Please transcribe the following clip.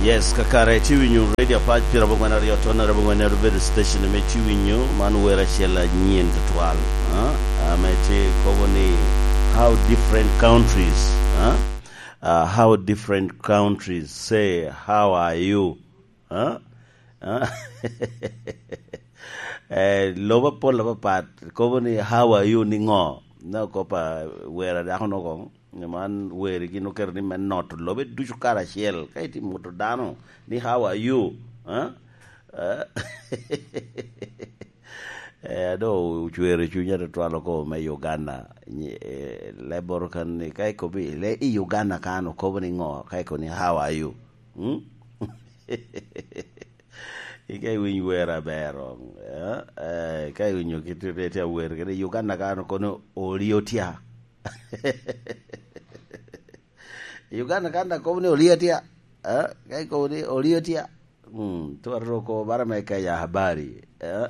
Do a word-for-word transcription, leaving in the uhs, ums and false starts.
Yes, kakare tye winyo Radio Apac, pira abongwen aryo ton aryo abongwen, en obedo station ame tye winyo, man wer acel anyen tutwal. Ah, ame tye kobo ni, "How different countries, ah? Uh, how different countries say, 'How are you?'" Ah? Ah? Eh, lobo apol apapat kobo ni, "How are you?" ni ŋo? Na kop a wer a dako no kong. Man weri gin oketo ni me noto lobe ducu karacel. Ka itye moto dano ni, "How are you?" Ah? Ah? Eh, ado ocwero cunya tutwal oko me Uganda. Nyi-, eh, leboro kan ni, ka ikobi, le i Uganda kan okobo ni ŋo? Ka ikobo ni, "How are you?" Hmm? Ika iwiny wer aber, eh? Eh, ka iwinyo kit reti awer, kede Uganda kan okobo ni, "Oli otya." Uganda kan da kobo ni, "Oli otya." Eh? Ka ikobo ni, "Oli otya." Hmm, twero ko bara me Kenya habari. Eh?